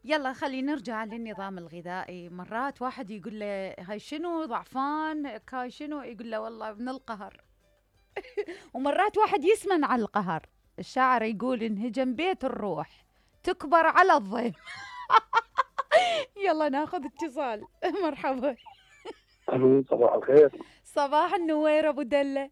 يلا خلينا نرجع للنظام الغذائي. مرات واحد يقول له هاي شنو ضعفان، هاي شنو، يقول له والله من القهر. ومرات واحد يسمن على القهر. الشاعر يقول انهجم بيت الروح تكبر على الضيم. يلا ناخذ اتصال. مرحبا. الو صباح الخير. صباح النوير ابو دله.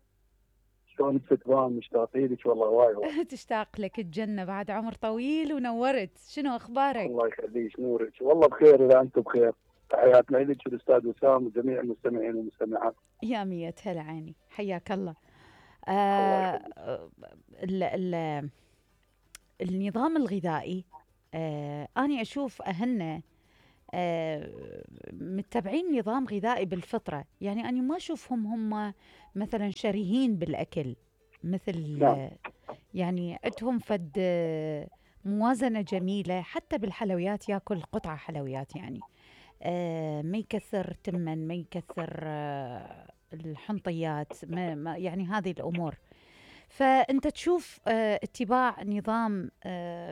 شلونك ستبان؟ مشتاقين لك والله وايد. تشتاق لك الجنه بعد عمر طويل ونورت. شنو اخبارك؟ الله يخليك نورك والله بخير اذا انتم بخير. تحياتنا لك والاستاذ وسام وجميع المستمعين والمستمعات. يا مية هلا عيني، حياك الله. الله النظام الغذائي أنا أشوف أهلنا متبعين نظام غذائي بالفطرة. يعني أنا ما أشوفهم هم مثلا شرهين بالأكل مثل نعم. يعني عندهم فد موازنة جميلة. حتى بالحلويات ياكل قطعة حلويات، يعني ما يكثر تمن، ما يكثر الحنطيات، ما يعني هذه الأمور. فأنت تشوف اتباع نظام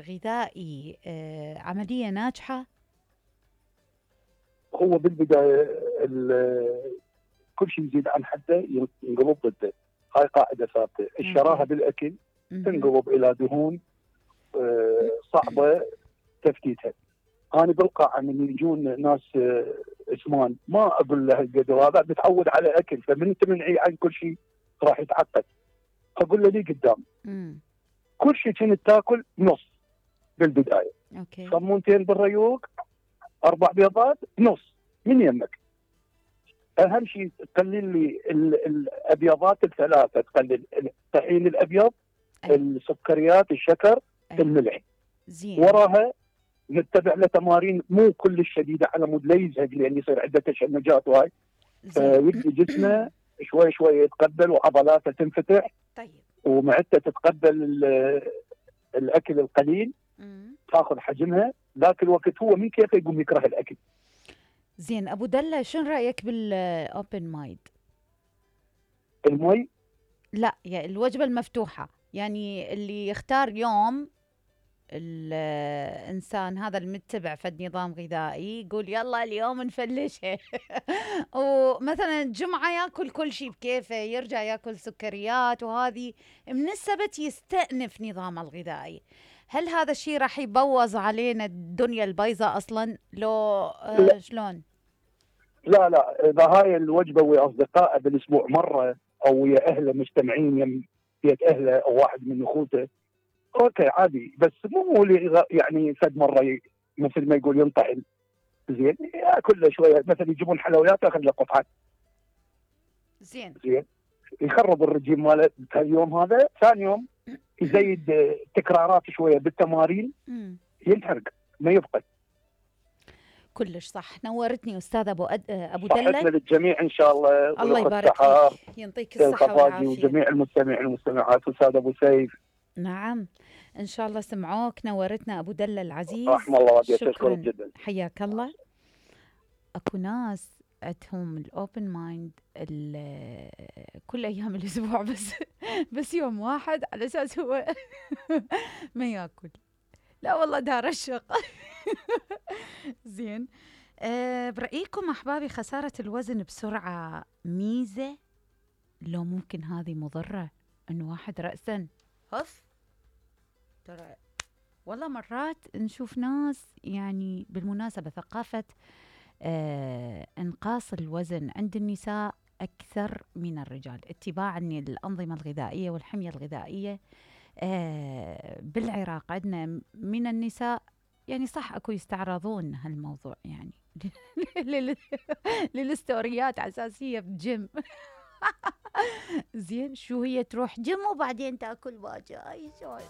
غذائي عملية ناجحة؟ هو بالبدايه كل شيء يزيد عن حده ينقلب ضده. هاي قاعده ثابته. الشراهه بالاكل تنقلب الى دهون صعبه تفتيتها. انا بالقاعه من يجون ناس اسمان ما اقول له القدر هذا متعود على اكل، فمن انت منعي عن كل شيء راح يتعقد. اقول له لي قدام كل شيء كنت تاكل نص بالبدايه. اوكي. صمونتين بالريوق، 4 بيضات نص من يمك. اهم شيء تقلل لي الابيضات ال3، تقلل الطحين الابيض، السكريات، الشكر، الملح. زين. وراها نتبع له تمارين مو كل شديده على مود لا يزهق، لان يصير عنده تشنجات وهاي. يبدي جسمه شوي شوي يتقبل وعضلاته تنفتح. طيب. ومعدته تتقبل الاكل القليل، تاخذ حجمها. ذاك الوقت هو من كيفه يقوم يكره الاكل. زين ابو دله، شنو رايك بالاوبن مايد؟ المي؟ لا، يعني الوجبه المفتوحه، يعني اللي يختار يوم الإنسان هذا المتبع فد نظام غذائي يقول يلا اليوم نفلشها. ومثلا الجمعة ياكل كل شيء بكيفه، يرجع ياكل سكريات، وهذه من السبت يستأنف نظامه الغذائي. هل هذا الشيء راح يبوظ علينا الدنيا البيضاء أصلا لو شلون؟ لا، إذا هاي الوجبة ويا أصدقائه بالأسبوع مرة، أو ويا أهله مجتمعين يم بيت أهله أو واحد من أخوته، اوكي عادي. بس مو يعني فد مره مثل ما يقول ينطعن. زين ياكل له شويه، مثلا يجيبون حلويات ياخذ له قطعه. زين يخرب الرجيم ماله اليوم هذا. ثاني يوم يزيد تكرارات شويه بالتمارين، ينحرق ما يفقد. كلش صح. نورتني استاذ ابو دله. صحتنا للجميع ان شاء الله. الله يبارك فيك، يعطيك الصحه والعافيه. وجميع المستمعين والمستمعات واستاذ ابو سيف. نعم ان شاء الله سمعوك. نورتنا ابو دله العزيز. رحم الله والديك، اشكرك جدا. حياك الله. اكو ناس عندهم الاوبن مايند كل ايام الاسبوع، بس يوم واحد على اساس هو ما ياكل. لا والله دار الشق. زين. برأيكم أحبابي خسارة الوزن بسرعة ميزة لو ممكن هذه مضرة؟ إنه واحد رأسا هف ترى. والله مرات نشوف ناس، يعني بالمناسبة ثقافة انقاص الوزن عند النساء أكثر من الرجال، اتباعا للأنظمة الغذائية والحمية الغذائية. بالعراق عندنا من النساء يعني صح اكو يستعرضون هالموضوع يعني للستوريات اساسيه بجيم. زين شو هي تروح جيم وبعدين تاكل باجي. اي شلون؟